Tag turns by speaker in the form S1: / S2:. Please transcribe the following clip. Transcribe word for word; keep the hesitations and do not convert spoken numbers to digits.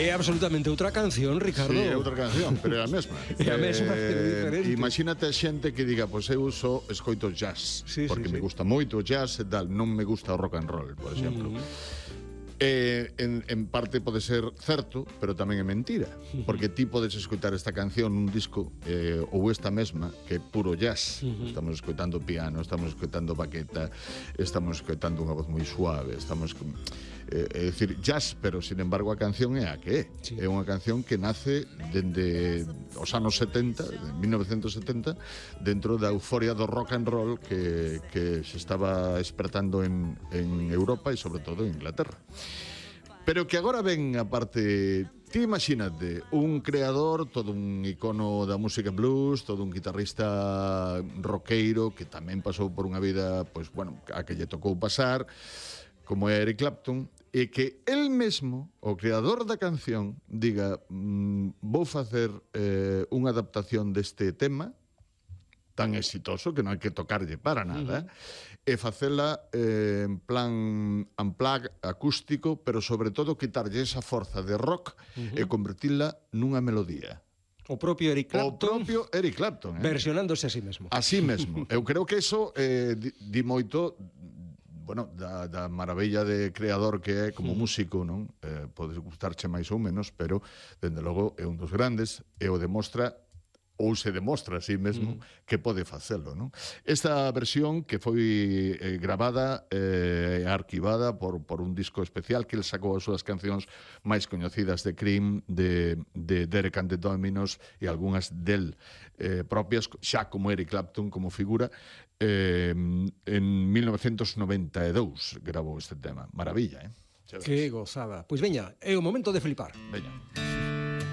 S1: É absolutamente outra canción, Ricardo.
S2: Sí, é outra canción, pero é a mesma.
S1: É a mesma, pero diferente.
S2: Imagínate a xente que diga, pois eu só escoito jazz,
S1: Sí,
S2: porque
S1: sí,
S2: me
S1: sí.
S2: gusta moito o jazz e tal, non me gusta o rock and roll, por exemplo. Mm. Eh, en, en parte pode ser certo, pero tamén é mentira, porque ti podes escoitar esta canción nun disco eh, ou esta mesma, que é puro jazz. Estamos escoitando piano, estamos escoitando baqueta, estamos escoitando unha voz moi suave, estamos eh, é dicir, jazz, pero sin embargo a canción é a que é.
S1: Sí.
S2: É unha canción que nace dende os anos setenta, de mil novecentos setenta, dentro da euforia do rock and roll que, que se estaba despertando en, en Europa e sobre todo en Inglaterra. Pero que agora ven a parte... Ti imagínate, un creador, todo un icono da música blues, todo un guitarrista roqueiro que tamén pasou por unha vida, pois, bueno, a que lle tocou pasar, como é Eric Clapton, e que el mesmo, o creador da canción, diga mmm, vou facer eh, unha adaptación deste tema tan exitoso que non hai que tocarlle para nada, uh-huh. e facela eh, en plan unplug acústico, pero sobre todo quitarlle esa forza de rock uh-huh. e convertila nunha melodía.
S1: O propio Eric Clapton.
S2: O propio Eric Clapton, eh?
S1: Versionándose a sí mesmo.
S2: A sí mesmo. Eu creo que eso eh, di, di moito, bueno, da, da maravilla de creador que é como músico, non? Eh, pode gustarche máis ou menos, pero, dende logo, é un dos grandes e o demostra ou se demostra a sí mesmo mm. que pode facelo, non? Esta versión que foi eh, gravada e eh, arquivada por, por un disco especial que el sacou as súas cancións máis coñecidas de Cream, de, de Derek and the Dominos e algunhas del eh, propias, xa como Eric Clapton como figura, eh, en mil novecentos noventa e dous gravou este tema. Maravilla, eh?
S1: Que gozada. Pois veña, é o momento de flipar.
S2: Veña.